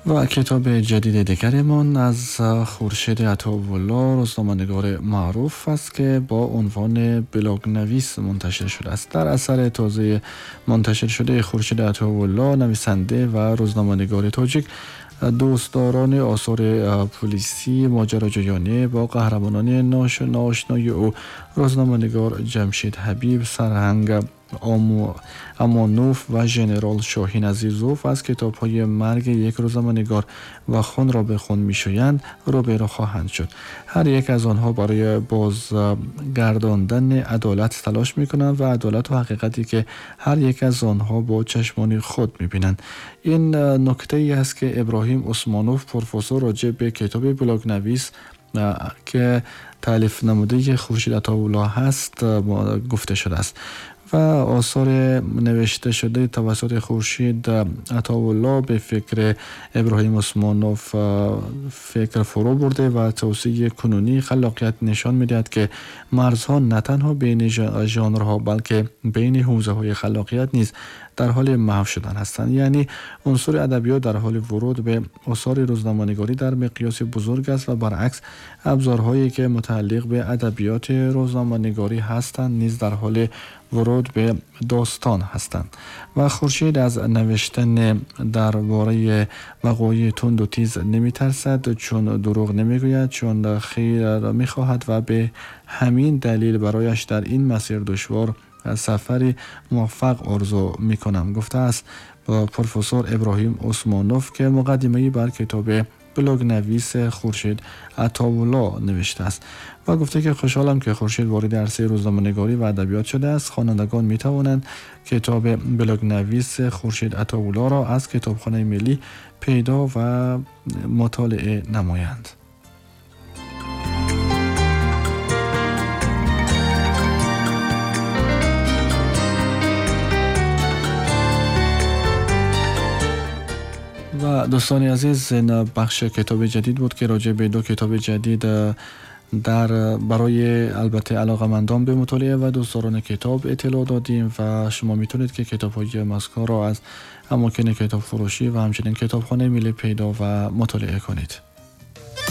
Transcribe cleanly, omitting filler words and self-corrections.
و کتاب جدید دیگرمان از خورشید عطاالله، روزنامه‌نگار معروف است که با عنوان بلاگ نویس منتشر شده است. در اثر تازه منتشر شده خورشید عطاالله، نویسنده و روزنامه‌نگار تاجیک، دوستداران آثار پلیسی ماجراجویانه با قهرمانان ناآشنای او، روزنامه‌نگار جمشید حبیب، سرهنگ امانوف و ژنرال شاهین عزیزوف از کتاب‌های مرگ یک روزنامه‌نگار و خون را به خون می‌شویند روبرو خواهند شد. هر یک از آنها برای بازگرداندن عدالت تلاش می‌کنند و عدالت و حقیقتی که هر یک از آنها با چشمان خود می‌بینند. این نکته‌ای است که ابراهیم عثمانوف، پروفسور، راجع به کتاب بلاگ نویس که تألیف نموده خورشید عطاالله هست گفته شده است. و آثار نوشته شده توسط خورشید عطاالله به فکر ابراهیم عثمانوف فکر فرو برده و توسعه کنونی خلاقیت نشان می‌دهد که مرزها نه تنها بین ژانرها بلکه بین حوزه‌های خلاقیت نیز در حال محو شدن هستند. یعنی عنصر ادبیات در حال ورود به آثار روزنامه‌نگاری در مقیاس بزرگ است و برعکس ابزارهایی که متعلق به ادبیات روزنامه‌نگاری هستند نیز در حال ورود به داستان هستند. و خورشید از نوشتن درباره وقایع تند و تیز نمی‌ترسد، چون دروغ نمی‌گوید، چون خیر را می‌خواهد و به همین دلیل برایش در این مسیر دشوار سفری موفق آرزو می‌کنم، گفته است با پروفسور ابراهیم عثمانوف که مقدمه‌ای بر کتاب بلاگ نویس خورشید عطاالله نوشته است و گفته که خوشحالم که خورشید وارد عرصه روزنامه‌نگاری و ادبیات شده است. خوانندگان می‌توانند کتاب بلاگ نویس خورشید عطاالله را از کتابخانه ملی پیدا و مطالعه نمایند. و دوستان عزیز، این بخش کتاب جدید بود که راجع به دو کتاب جدید در برای البته علاقه‌مندان به مطالعه و دوستداران کتاب اطلاع دادیم و شما میتونید که کتاب‌های مذکور را از اماکن کتاب فروشی و همچنین کتابخانه ملی پیدا و مطالعه کنید.